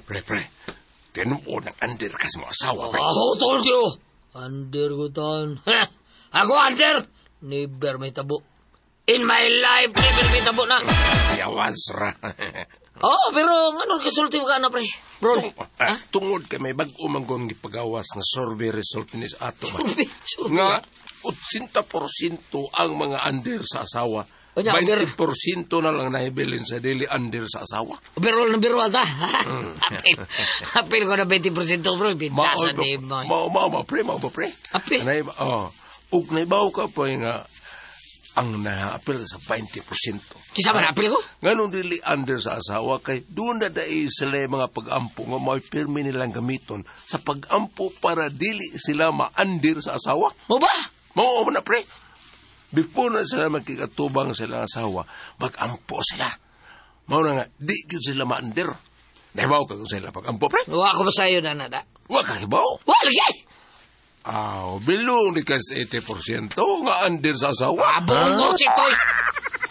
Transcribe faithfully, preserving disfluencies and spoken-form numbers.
Pre, pre. Tinuod ng under ka sa mga asawa, pre. Ako told you. Under ko taon. Ako under. Never may tabo. In my life, never may tabo na. Yawas ra. Oh, pero ano kasulti mo ka na, pre? Bro. Tung, ah, tungod kay may bag-o man kong gipagawas na survey result ni sa ato ba. Survey, survey. Nga eighty percent ang mga under sa asawa. Unya, under. twenty percent na lang nahibilin sa dili under sa asawa. Overall na overall ta. Apil, apil ko na twenty percent, bro. Pintasan ni mo. Mao mao ba, pre, mao ba, pre? Apil. Nay, oh, ug naibaw ka pa nga ang naapil sa twenty percent. Kisa man apil ko? Nganong dili under sa asawa kay doon na dai sila yung mga pag-ampo nga may pirmi nilang gamiton sa pag-ampo para dili sila ma-under sa asawa. Mo ba? Mao mo na, pre. Before na sila magkikatubang sila ang asawa, mag-ampo sila. Mao na nga, di gyud sila ma-under. Nahibaw ka kung sila pag-ampo, pre? Wa ko ba sa'yo na nada? Wa ka hibaw. Wa lagi! Aw, bilong ni kas eighty percent nga under sa asawa. Abong ko, chitoy!